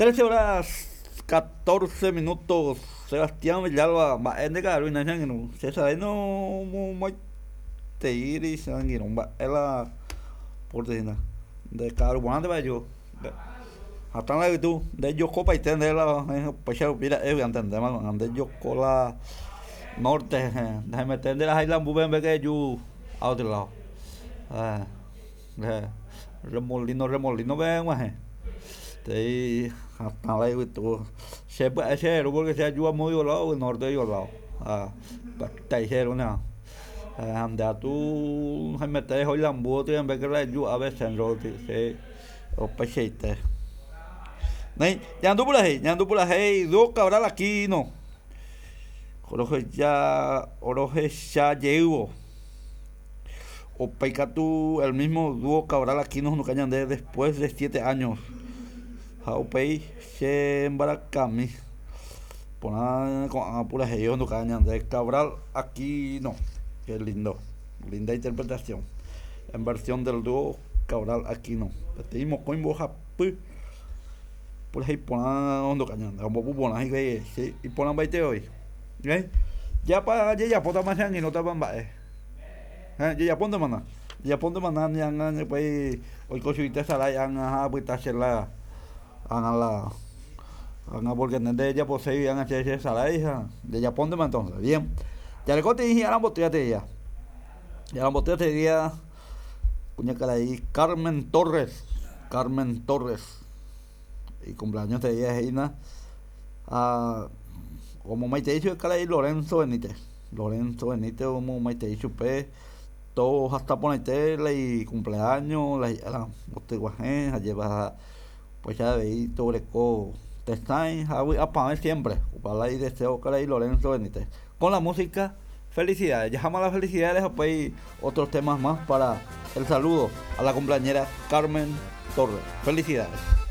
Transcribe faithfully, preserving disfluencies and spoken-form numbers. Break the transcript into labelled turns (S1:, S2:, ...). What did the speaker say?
S1: Trece horas catorce minutos. Sebastián Villalba, mba'e ndeka'aru che angirũ. Che no momaiteíri che angirũ mba'e la porte ndeka'aru porãnteva eju. Hatã la yvytu ndejokopaite nde la upéicha rupi ra'e antendéma ko'ág̃a ndejoko la norte ndahemete nderahái la mbúpe mbeke eju a otro lado. Eh, remolino remolino-pe eg̃uahẽ tei hatã la yvytu che pya'e che ru porque che aju amo lado norte lado tai che ru ha nde atu haimete eho ilambu mbeke la eju ápe centro che upeichaite. Néi ñandu purahéi ñandu purahéi Dúo Cabral Aquino rohecha rohechajeývo upéi katu el mismo Dúo Cabral Aquino ohenduka ñande después de siete años ha upéi che mbarakami porã ko'ã purahéi ohenduka ñande Cabral Aquino. Qué lindo, linda interpretación en versión del dúo Cabral Aquino. Peteĩ mokõi mbohapy purahéi porã ohenduka ñande ombopu porã hikuái che iporãmbaite voi. Jápa jejapótama che angirũtapa mba'e. Jejapóntemana jejapóntemana ni ág̃a upéi oiko chugui tesarái ág̃a ha apyta che la ág̃a la ág̃a porque nde ndejaposéi ág̃a che chesarái ha jejapóntema entonces. Bien. Jarekótei hi'aramboty ateia. Hi'aramboty ateia kuñakarai Carmen Torres. Carmen Torres. Icumpleaños teia he'ína ha omomaitei chupe karai Lorenzo Benítez. Lorenzo Benítez omomaitei chupe tohasa porãite la icumpleaños la hi'ára mbotyguahẽ ha jeva upéicha avei toguereko tesãi ha vy'apavẽ siempre opa la ideseo karai Lorenzo Benítez. Con la música felicidades. Dejamos las felicidades upéi otros temas más para el saludo a la cumpleañera Carmen Torres. Felicidades.